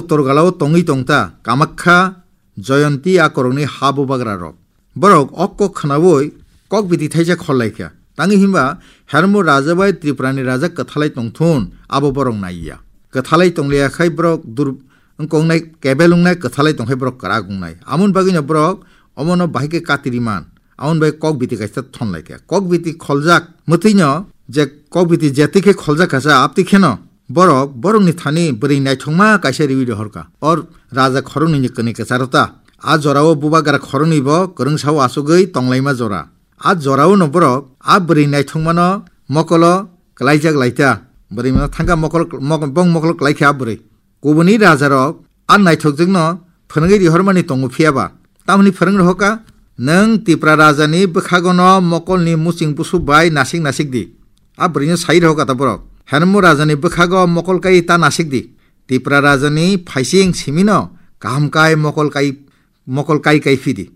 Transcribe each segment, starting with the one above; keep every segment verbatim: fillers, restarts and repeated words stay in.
Torgalao tongwi tongta Kamakha, Jayanti a korokni ha bubagra rok. Borok o kok khnaui kok biti thaisa khollaikha. Tangwi himba Hermo raja bai Tripurani raja kwthalai tongthun abo borok naiya. Kwthalai tongliya khai borok dur-, wngkongnai kebel wngnai, kwthalai tongkhai borok kwrak wngnai. Amoni bagwino borok omono bahai khe katiriman. Amoni bai kok biti kaisa thonlaikha. Kok biti kholjak mwtwino je kok biti jetwi khe kholjak kha sa, abtwi kheno borok borokni thani bwrwi naithokma kaisa riwi rohorkha. O raja khoroknwini kwnwi kwcharo ta. A jorao bubagra khoroknwi bo kwrwngsao achugwi tonglaima jora. A jorao no borok a bwrwi naithokmano mokolo kwlaijak laita. Bwrwi mano thangkha mokol, mok-, bong mokolo kwlaikha a bwrwi. Kubuni rajarok a naithokjwkno phwrwngwi rihormani tongo, phiya ba tamoni phwrwng rohorkha, "Nwng Tipra rajani bwkhagono mokolni muching busu bai nasik nasik di." A bwrwino sai rohorkha ta borok, "Hermo rajani bwkhago mokol kai ta nasik di. Tipra rajani phaising simino kaham kai mokol kai, mokol kai kai phi di."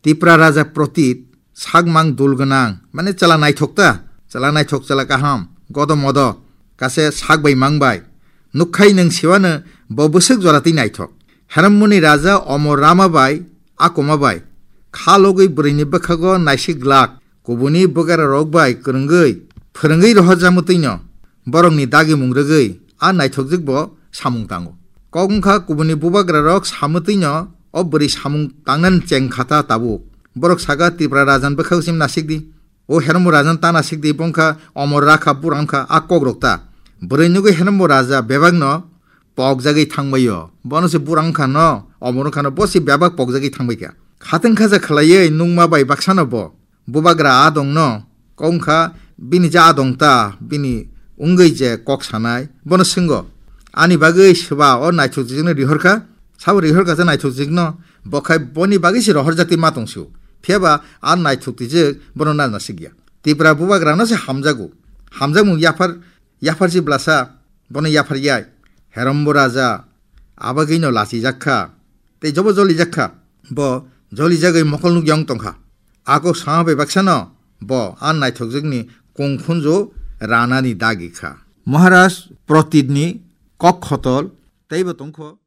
Tipra raja Protit, sakmang dul gwnang, mane chwla naithok ta, chwla naithok, chwla kaham, godo modo, kase sak bai mang bai. Nukkhai nwng siwano bo bwswk jora twi naithok. Hermoni raja Omor Rama bai, Akoma bai, kha logwi bwrwini bwkhago naisik glak, kubuni bwgara rok bai kwrwngwi, phwrwngwi rohorjak mwtwino. Borokni dagimung rwgwi a naithokjwk bo samung tango. Kok wngkha kubuni bubagrarok samwtwino o bwrwi samung tangnani cheng kha ta tabuk. Borok saka, "Tipra rajan bwkhak sim nasik di. O Hermo rajan ta nasik di, bongkha omor rakha, bura wngkha a kokrok ta." Bwrwi nugwi Hermo raja bebakno pokjagwi thangbaio. Bono se bura wngkha no, omor wngkha no, bo se bebak pokjagwi thangbaikha. Khateng khaja khlaiwi nungma bai baksano bo. Bubagra adongno kok wngkha, bini je adong ta, bini wngwi je kok sanai, bono swngo, "Ani bagwi swba o naithokjwkno rihorkha?" Sabo rihorkha je naithokjwkno, bo khai boni bagwi se rohorjak twi ma tong sio. Phiya ba a naithok twijwk bono na nasikya. Tipra bubagrano se hamjago. Hamjakmung yaphar, yaphar si blasa, bono yaphar yai. Herombo raja abagwino lachijak kha. Tei jobo jolijak kha, bo jolijagwi mokol nukya wng tong kha. A kok sama bai baksano bo a naithokjwkni kung khunju ranani dagi kha. Maharaj Pratitni kok khotol teibo tong kho.